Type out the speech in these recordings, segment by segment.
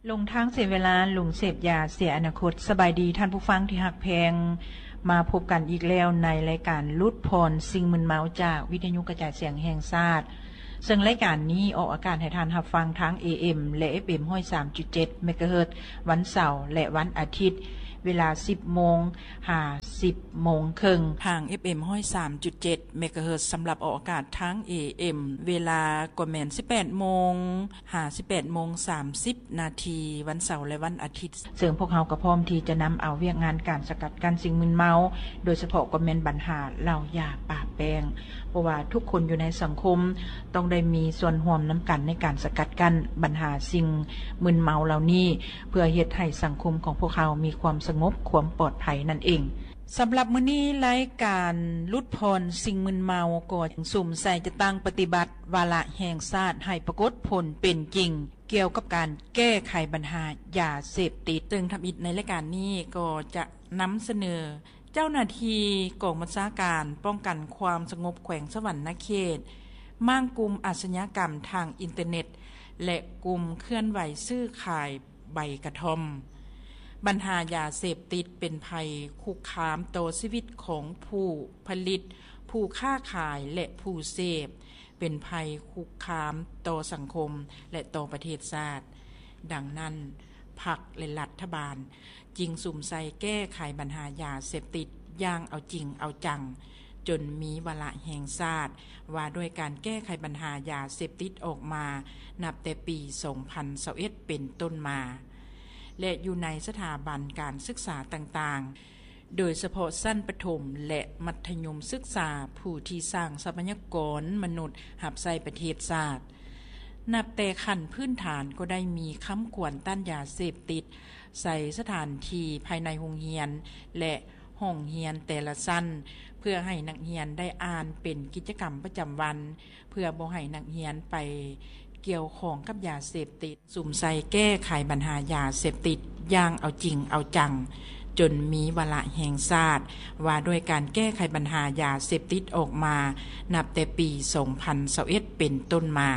ຫຼົງທາງເສຍເວລາ, ຫຼົງເສບຢາເສຍອະນາຄົດ. ສະບາຍດີທ່ານຜູ້ຟັງທີ່ຮັກແພງ, ມາພົບກັນອີກແລ້ວໃນລາຍການຫຼຸດຜ່ອນສິ່ງມຶນເມົາຈາກວິທະຍຸກະຈາຍສຽງແຫ່ງຊາດ, ເຊິ່ງລາຍການນີ້ອອກອາກາດໃຫ້ທ່ານຮັບຟັງທາງ ເອເອັມ ແລະ ເອຟເອັມ ຮ້ອຍສາມຈຸດເຈັດ ເມກາເຮີດ ວັນເສົາ ແລະ ວັນອາທິດ ເວລາ ສິບໂມງ ຫາ ສິບໂມງເຄິ່ງ ທາງ ເອຟເອັມ ຮ້ອຍສາມຈຸດເຈັດ ເມກາເຮີດ ສຳລັບອອກອາກາດທາງ ເອເອັມ ເວລາກໍແມ່ນ ສິບແປດໂມງ ຫາ ສິບແປດໂມງ ສາມສິບນາທີ ວັນເສົາ ແລະ ວັນອາທິດ, ເຊິ່ງພວກເຮົາກໍພ້ອມທີ່ຈະນຳເອົາວຽກງານການສະກັດກັ້ນສິ່ງມຶນເມົາ, ໂດຍສະເພາະກໍແມ່ນບັນຫາເຫຼົ້າຢາປາແປ້ງ, ເພາະວ່າທຸກຄົນຢູ່ໃນສັງຄົມຕ້ອງໄດ້ມີສ່ວນຮ່ວມນຳກັນໃນການສະກັດກັ້ນບັນຫາສິ່ງມຶນເມົາເຫຼົ່ານີ້, ເພື່ອເຮັດໃຫ້ສັງຄົມຂອງພວກເຮົາມີຄວາມສະຫງົບ, ຄວາມປອດໄພນັ້ນເອງ. ສຳລັບມື້ນີ້, ລາຍການຫຼຸດຜ່ອນສິ່ງມຶນເມົາກໍສຸມໃສ່ຈັດຕັ້ງປະຕິບັດວາລະແຫ່ງຊາດໃຫ້ປາກົດຜົນເປັນຈິງ ກ່ຽວກັບການແກ້ໄຂບັນຫາຢາເສບຕິດ, ເຊິ່ງທຳອິດໃນລາຍການນີ້ກໍຈະນຳສະເໜີເຈົ້າໜ້າທີ່ກອງບັນຊາການປ້ອງກັນຄວາມສະຫງົບແຂວງສະຫວັນນະເຂດ, ມ້າງກຸ່ມອາຊະຍາກຳທາງອິນເຕີເນັດ ແລະ ກຸ່ມເຄື່ອນໄຫວຊື້ຂາຍ ໃບກະທ່ອມ. ບັນຫາຢາເສບຕິດເປັນໄພຄຸກຄາມຕໍ່ຊີວິດຂອງຜູ້ຜະລິດ, ຜູ້ຄ້າຂາຍ ແລະ ຜູ້ເສບ, ເປັນໄພຄຸກຄາມຕໍ່ສັງຄົມ ແລະ ຕໍ່ປະເທດຊາດ. ດັ່ງນັ້ນ, ພັກ ແລະ ລັດຖະບານຈຶ່ງສຸມໃສ່ແກ້ໄຂບັນຫາຢາເສບຕິດຢ່າງເອົາຈິງເອົາຈັງ, ຈົນມີວາລະແຫ່ງຊາດວ່າດ້ວຍການແກ້ໄຂບັນຫາຢາເສບຕິດອອກມາ ນັບແຕ່ປີສອງພັນຊາວເອັດເປັນຕົ້ນມາ ແລະ ຢູ່ໃນສະຖາບັນການສຶກສາຕ່າງໆ, ໂດຍສະເພາະຊັ້ນປະຖົມ ແລະ ມັດທະຍົມສຶກສາ ຜູ້ທີ່ສ້າງຊັບພະຍາກອນມະນຸດຮັບໃຊ້ປະເທດຊາດ. ນັບແຕ່ຂັ້ນພື້ນຖານກໍໄດ້ມີຄຳຂວັນຕ້ານຢາເສບຕິດ ໃສ່ສະຖານທີ່ພາຍໃນໂຮງຮຽນ ແລະ ຫ້ອງຮຽນແຕ່ລະຊັ້ນ ເພື່ອໃຫ້ນັກຮຽນໄດ້ອ່ານເປັນກິດຈະກຳປະຈຳວັນ, ເພື່ອບໍ່ໃຫ້ນັກຮຽນໄປກ່ຽວຂ້ອງກັບຢາເສບຕິດ, ສຸມໃສ່ແກ້ໄຂບັນຫາຢາເສບຕິດຢ່າງເອົາຈິງເອົາຈັງ, ຈົນມີວາລະແຫ່ງຊາດວ່າດ້ວຍການແກ້ໄຂບັນຫາຢາເສບຕິດອອກມາ ນັບແຕ່ປີສອງພັນຊາວເອັດເປັນຕົ້ນມາ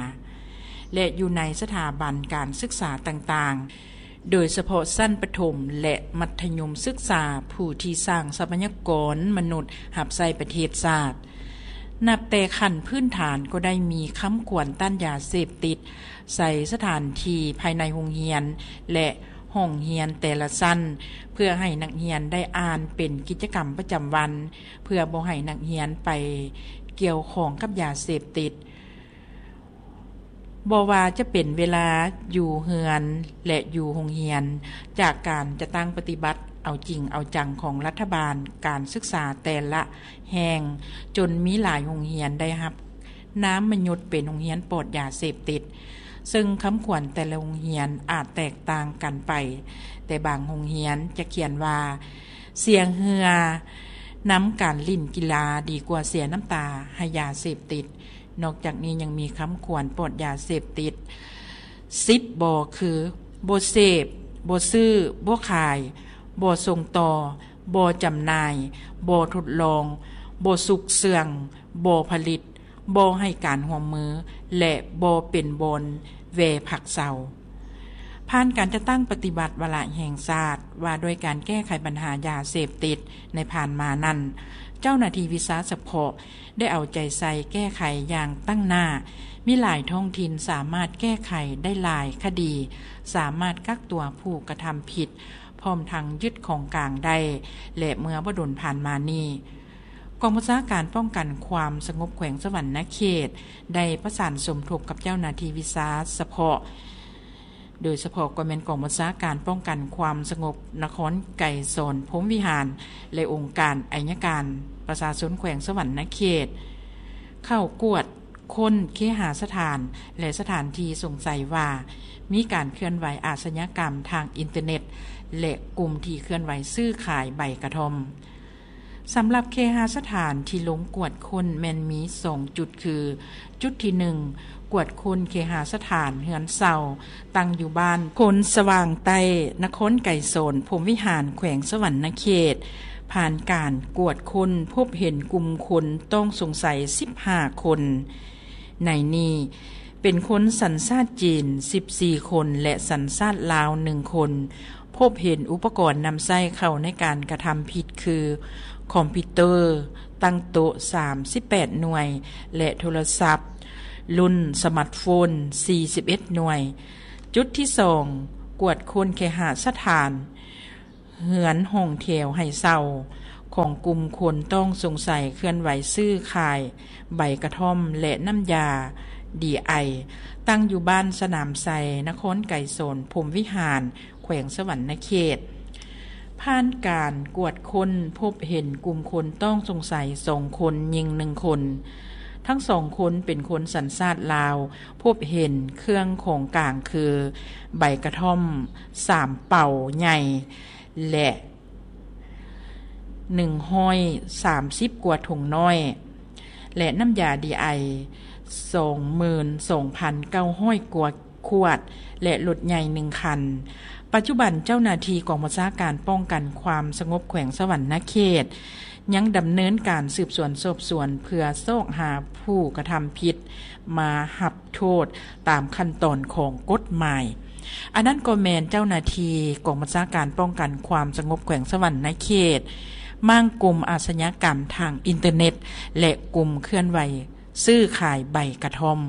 ແລະ ຢູ່ໃນສະຖາບັນການສຶກສາຕ່າງໆ, ໂດຍສະເພາະຊັ້ນປະຖົມ ແລະ ມັດທະຍົມສຶກສາ ຜູ້ທີ່ສ້າງຊັບພະຍາກອນມະນຸດຮັບໃຊ້ປະເທດຊາດ. ນັບແຕ່ຂັ້ນພື້ນຖານກໍໄດ້ມີຄຳຂວັນຕ້ານຢາເສບຕິດ ໃສ່ສະຖານທີ່ພາຍໃນໂຮງຮຽນ ແລະ ຫ້ອງຮຽນແຕ່ລະຊັ້ນ ເພື່ອໃຫ້ນັກຮຽນໄດ້ອ່ານເປັນກິດຈະກຳປະຈຳວັນ, ເພື່ອບໍ່ໃຫ້ນັກຮຽນໄປກ່ຽວຂ້ອງກັບຢາເສບຕິດ. ບໍ່ວ່າຈະເປັນເວລາຢູ່ເຮືອນ ແລະ ຢູ່ໂຮງຮຽນ, ຈາກການຈັດຕັ້ງປະຕິບັດເອົາຈິງເອົາຈັງຂອງລັດຖະບານ, ການສຶກສາແຕ່ລະແຫ່ງ, ຈົນມີຫຼາຍໂຮງຮຽນໄດ້ຮັບນາມມະຍົດເປັນໂຮງຮຽນປອດຢາເສບຕິດ, ເຊິ່ງຄຳຂວັນແຕ່ລະໂຮງຮຽນອາດແຕກຕ່າງກັນໄປ, ແຕ່ບາງໂຮງຮຽນຈະຂຽນວ່າ ເສຍເຫື່ອນຳການຫຼິ້ນກິລາ ດີກວ່າເສຍນ້ຳຕາໃຫ້ຢາເສບຕິດ. ນອກຈາກນີ້ຍັງມີຄຳຂວັນປອດຢາເສບຕິດ ສິບບໍ່ ຄື ບໍ່ເສບ, ບໍ່ຊື້, ບໍ່ຂາຍ, ບໍ່ສົ່ງຕໍ່, ບໍ່ຈຳໜ່າຍ, ບໍ່ທົດລອງ, ບໍ່ຊຸກເຊື່ອງ, ບໍ່ຜະລິດ, ບໍ່ໃຫ້ການຮ່ວມມື ແລະ ບໍ່ເປັນບ່ອນແວ່ພັກເຊົາ. ຜ່ານການຈັດຕັ້ງປະຕິບັດວາລະແຫ່ງຊາດວ່າດ້ວຍການແກ້ໄຂບັນຫາຢາເສບຕິດໃນຜ່ານມານັ້ນ, ເຈົ້າໜ້າທີ່ວິຊາສະເພາະ ໄດ້ເອົາໃຈໃສ່ແກ້ໄຂຢ່າງຕັ້ງໜ້າ, ມີຫຼາຍທ້ອງຖິ່ນສາມາດແກ້ໄຂໄດ້ຫຼາຍຄະດີ, ສາມາດກັກຕົວຜູ້ກະທຳຜິດ, ພ້ອມທັງຍຶດຂອງກາງໄດ້ ແລະ ເມື່ອບໍ່ດົນຜ່ານມານີ້, ກອງບັນຊາການປ້ອງກັນຄວາມສະຫງົບແຂວງສະຫວັນນະເຂດ ໄດ້ປະສານສົມທົບກັບເຈົ້າໜ້າທີ່ວິຊາສະເພາະ, ໂດຍສະເພາະກໍແມ່ນກອງບັນຊາການປ້ອງກັນຄວາມສະຫງົບນະຄອນໄກສອນພົມວິຫານ ແລະ ອົງການໄອຍະການປະຊາຊົນແຂວງສະຫວັນນະເຂດ ເຂົ້າກວດຄົ້ນເຄຫາສະຖານ ແລະ ສະຖານທີ່ສົງໄສວ່າມີການເຄື່ອນໄຫວອາຊະຍາກຳທາງອິນເຕີເນັດ ແລະ ກຸ່ມທີ່ເຄື່ອນໄຫວຊື້ຂາຍໃບກະທ່ອມ. ສຳລັບເຄຫາສະຖານທີ່ລົງກວດຄົ້ນແມ່ນມີສອງຈຸດ ຄື ຈຸດທີໜຶ່ງ ກວດຄົ້ນເຄຫາສະຖານເຮືອນເຊົ່າ ຕັ້ງຢູ່ບ້ານໂພນສະຫວ່າງໃຕ້ ນະຄອນໄກສອນພົມວິຫານ ແຂວງສະຫວັນນະເຂດ, ຜ່ານການກວດຄົ້ນພົບເຫັນກຸ່ມຄົນຕ້ອງສົງໄສສິບຫ້າຄົນ. ໃນນີ້ ເປັນຄົນສັນຊາດຈີນສິບສີ່ຄົນ ແລະ ສັນຊາດລາວໜຶ່ງຄົນ. ພົບເຫັນອຸປະກອນນຳໃຊ້ເຂົ້າໃນການກະທຳຜິດຄື ຄອມພິວເຕີຕັ້ງໂຕະສາມສິບແປດໜ່ວຍ ແລະ ໂທລະສັບລຸ້ນສະມາດໂຟນສີ່ສິບເອັດໜ່ວຍ. ຈຸດທີສອງ ກວດຄົ້ນເຄຫະສະຖານ ເຮືອນຫ້ອງແຖວໃຫ້ເຊົ່າຂອງກຸ່ມຄົນຕ້ອງສົງໄສເຄື່ອນໄຫວຊື້ຂາຍໃບກະທ່ອມ ແລະ ນ້ຳຢາດີໄອ ຕັ້ງຢູ່ບ້ານສະໜາມໄຊ ນະຄອນໄກສອນ ພົມວິຫານ ແຂວງສະຫວັນນະເຂດ. ຜ່ານການກວດຄົ້ນ ພົບເຫັນກຸ່ມຄົນຕ້ອງສົງໄສສອງຄົນ, ຍິງໜຶ່ງຄົນ. ທັງສອງຄົນເປັນຄົນສັນຊາດລາວ. ພົບເຫັນເຄື່ອງຂອງກາງຄື ໃບກະທ່ອມສາມເປົາໃຫຍ່ ແລະ ໜຶ່ງຮ້ອຍສາມສິບກວ່າຖົງນ້ອຍ ແລະ ນ້ຳຢາດີໄອ ສອງໝື່ນສອງພັນເກົ້າຮ້ອຍກວ່າຂວດ ແລະ ລົດໃຫຍ່ໜຶ່ງຄັນ. ປັດຈຸບັນເຈົ້າໜ້າທີ່ກອງບັນຊາການປ້ອງກັນຄວາມສະຫງົບແຂວງສະຫວັນນະເຂດ ຍັງດຳເນີນການສືບສວນສອບສວນ ເພື່ອຊອກຫາຜູ້ກະທຳຜິດມາຮັບໂທດຕາມຂັ້ນຕອນຂອງກົດໝາຍ. ອັນນັ້ນກໍແມ່ນເຈົ້າໜ້າທີ່ກອງບັນຊາການປ້ອງກັນຄວາມສະຫງົບແຂວງສະຫວັນນະເຂດ, ມ້າງກຸ່ມອາຊະຍາກຳທາງອິນເຕີເນັດ ແລະ ກຸ່ມເຄື່ອນໄຫວຊື້ຂາຍໃບກະທ່ອມ.